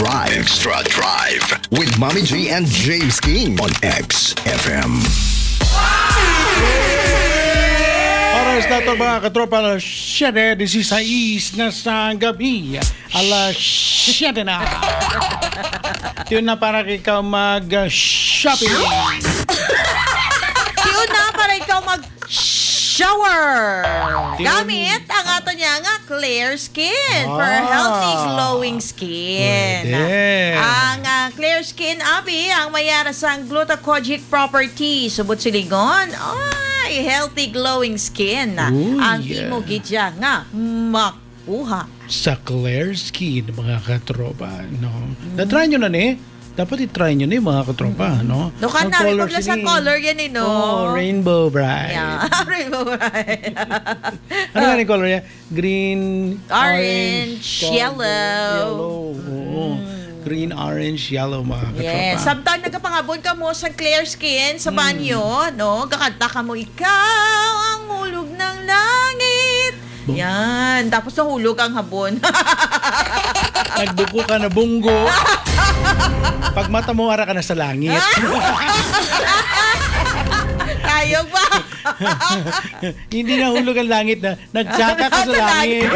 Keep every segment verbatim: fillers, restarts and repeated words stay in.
Drive, Extra Drive with Mommy G and James King on X F M. Oras naton, mga katropa, alas siyete dieciséis na sa gabi. Alas siyete na. Tune na para ikaw mag-shopping. Tune na para ikaw mag-shower. Tune. Gamit ang ato niya nga Clear Skin for Ah. healthy glowing skin. Pwede. Ang, ah, Clear Skin, abi, ang may ara sang glucocorticoid property. Subot silingon, ay, healthy glowing skin. Uy. Ang imo gid siya nga makuha. Sa Clear Skin, mga katropa, no? Mm. Na-try nyo na ni? Dapat i-try nyo ni, mga katropa, Mm. no? No, Ang kanami color pag sa sini. Color yan eh, no? Oh, rainbow bright. Yeah, rainbow bright. Ano nga ni color yan? Green, Orange, orange, yellow. Yellow, oo. Mm. Green, orange, yellow, mga katropa. Yes. Samtang nagapangabon ka mo sa Clear Skin sa Mm. banyo, no? Kakanta ka mo, "Ikaw ang hulog ng langit." Bo- Yan. Tapos nahulog ang habon. Nagduko ka na bunggo. Pag mata mo, ara ka na sa langit. Tayo ba? Hindi nahulog ang langit na, nagtsaka ka sa langit.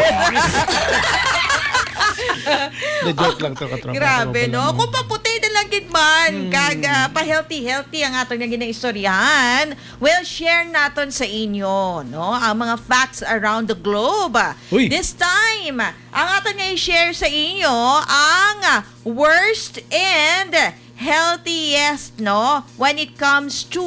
The joke lang to, katropa. Grabe, no? Kung paputi na lang gid man, Mm. kag, ah, pa-healthy-healthy ang ato nga ginaistoryahan, we'll share naton sa inyo, no? Ang mga facts around the globe. Uy. This time, ang ato nga i-share sa inyo ang worst and healthiest, no? When it comes to,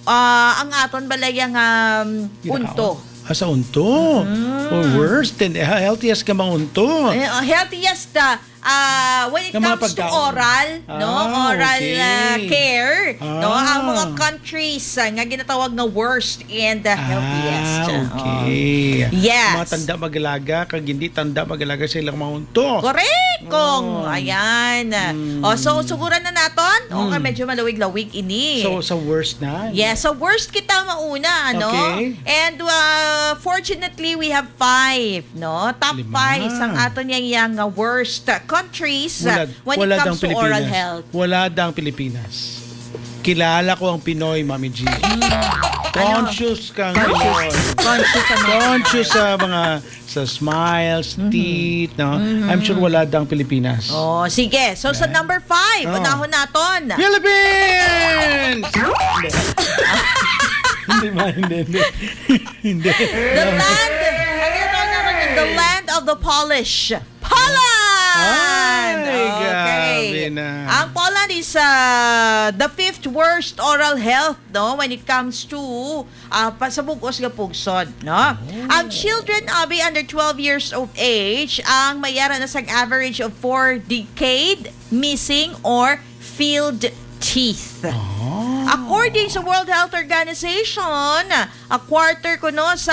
ah, ang aton balaya nga, um, Ginakaon. Unto. Ah, sa unto. Mm. Oh, worst and he-, healthiest ka mga unto. Eh, oh, healthiest, ah, ah, when it Nga mga comes to pagkaon. Oral, no? Ah, Oral, okay. Ah, care, no? Ang mga Ah. countries, ah, nga ginatawag nga worst and, ah, healthiest. Ah, Oo. Okay. Yes. Mga tanda mag-alaga, kag hindi tanda mag-alaga sa ilang mga unto. Correct, Kong. Oh. Ayan. Mm. O, so, suguran na naton. O, nga Mm. medyo malawig-lawig ini. So, sa worst na? Yes, sa worst kita mauna, ano? Okay. And, uh, fortunately, we have five, no? Top Lima. Five sang aton yang, yang, uh, worst countries, uh, Wala, when it wala comes dang to oral Pilipinas. Health. Wala dang Pilipinas. Kilala ko ang Pinoy, Mami G. Mm. Ano? Conscious kang Conscious. Pinoy. Conscious ang mga Conscious Pinoy. Sa mga, sa smiles, Mhm. teeth, no? Mhm. I'm sure wala dang Pilipinas. Oh, sige. So, sa Yeah. number five, Oh. unahon naton. Philippines! Hindi. Hindi ba? Hindi, hindi. Hindi. The land, ang ito na rin, the land of the Polish. Poland! Ay, Okay. Grabe na. Ang Poland is, uh, the fifth worst oral health, no, when it comes to, uh, pa-, sa bug-os nga pungsod, no? Oh. Ang children, abi, under twelve years of age, ang may ara na sang average of four decayed, missing, or filled teeth. Ah. According sa World Health Organization, a quarter kuno sa